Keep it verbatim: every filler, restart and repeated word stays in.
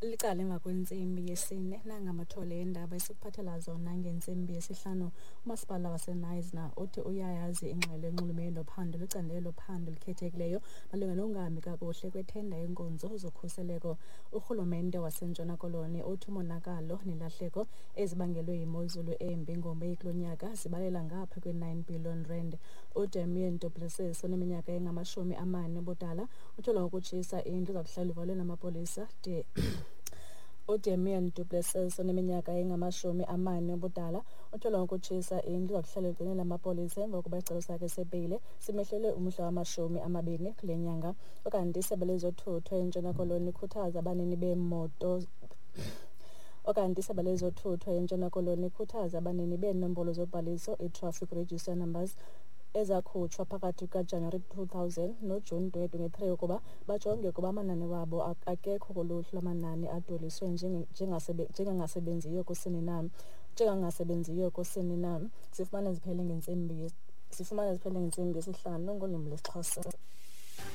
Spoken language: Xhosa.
Licala emva kwentsimbi yesine, nangamathole eendaba esikuphathela zona ngentsimbi yesihlanu. Umasipala waseKnysna uthi uyayazi ingxelo enxulumene nophando lwecandelo lophando elikhethekileyo malunga nokungahambi kakuhle kwethenda yeenkonzo zokhuseleko. Urhulumente waseNtshona Koloni uthi umonakalo nelahleko ezibangelwe yimozulu embi ngoMeyi kulo nyaka zibalela ngapha kwe-nine billion rand. UDamien Du Plessis oneminyaka engamashumi amane ubudala utyholwa ngokutshisa indlu ezakuhlala ivalwe namapolisa de uDamien Du Plessis oneminyaka engamashumi amane ubudala utyholwa ngokutshisa indlu ezakuhlala igcinela amapolisa emva kokuba isicelo sakhe sebheyile simehlelwe umhla wamashumi amabini kule nyanga. Ukanti isebe lezothutho eNtshona Koloni likhuthaza abanini beemoto Okanti isebe lezothutho eNtshona Koloni likhuthaza abanini beenombolo zobhaliso, i-traffic register numbers, ezakhutshwa phakathi kukaJanuwari two thousand noJuni twenty twenty-three ukuba bajonge ukuba amanani wabo akekho kuluhlu lwamanani adweliswe njengangasebenziyo kusini na njengangasebenziyo kusini na. Sifumane ziphele ngentsimbi sifumane ziphele ngentsimbi yesihlanu ngolwimi lwesiXhosa.